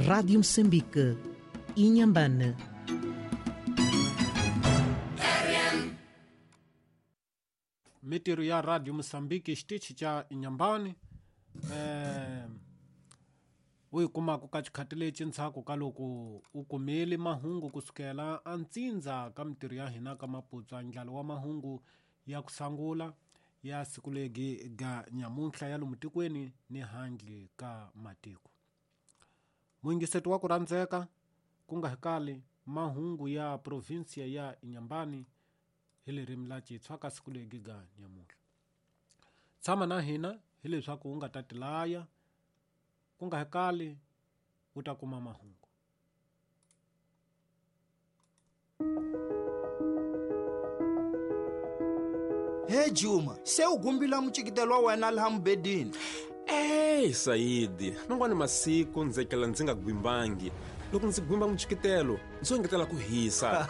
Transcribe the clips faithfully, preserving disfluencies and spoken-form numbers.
Rádio Moçambique, Inhambane. Mitirho ya Radio Moçambique xitichi xa Inhambane eh u yi kumaka ka xikhati lexi ndzhaku ka loko u kumile mahungu kusukela antsindza ka mitirho ya hina ka Maputo ndlalo wa mahungu ya ku sangula ya siku legi ga nyamuntlha ya lomu tikweni ni handle ka matiko. Muyingiseti wa ku rhandzeka ku nga hikali mahungu ya provinsia ya Inhambane hi ririmi la Xitsonga ka siku legi ga nyamuntlha. Tshama na hina hileswaku u nga ta tilaya ku nga hikali u ta kuma mahungu. He Juma, se u gumbila mucikitelo wa wena laha mubedini. Ey Saidi, man'wana masiku ndzi kela ndzi nga gwimbangi. Loko ndzi gwimba mucikitelo, ndzi engetela ku hisa.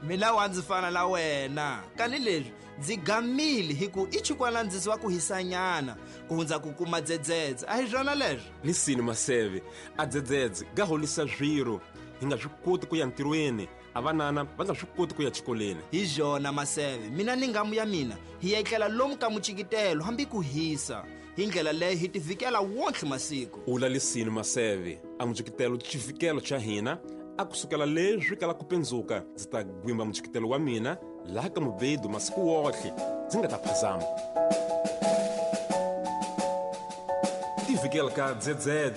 Mina wa ndzi fana na wena. Kani leswi ndzi gamile hi ku i chikwana ndzi wa ku hisanyana ku hundza ku kuma dzedzedze. A hi swona leswi? Lisini Maseve, a dzedzedze ga holisa swiro. Hi nga swi koti ku ya ntirhweni, a vanana va nga swi koti ku ya xikolweni. Hi swona Maseve, mina ni ngamu ya mina hi etlela lomu ka mucikitelo hambi ku hisa. Hi ndlela leyi hi tivikela wonke masiku. Ula lisini Maseve, a mucikitelo xivikelo xa hina a kusukela leswi kala ku pendzuka ndzi ta gwimba mucikitelo wa mina laha ka mubedo masiku wohle ndzi nga ta phazama. Tivikela ka dzedzedze.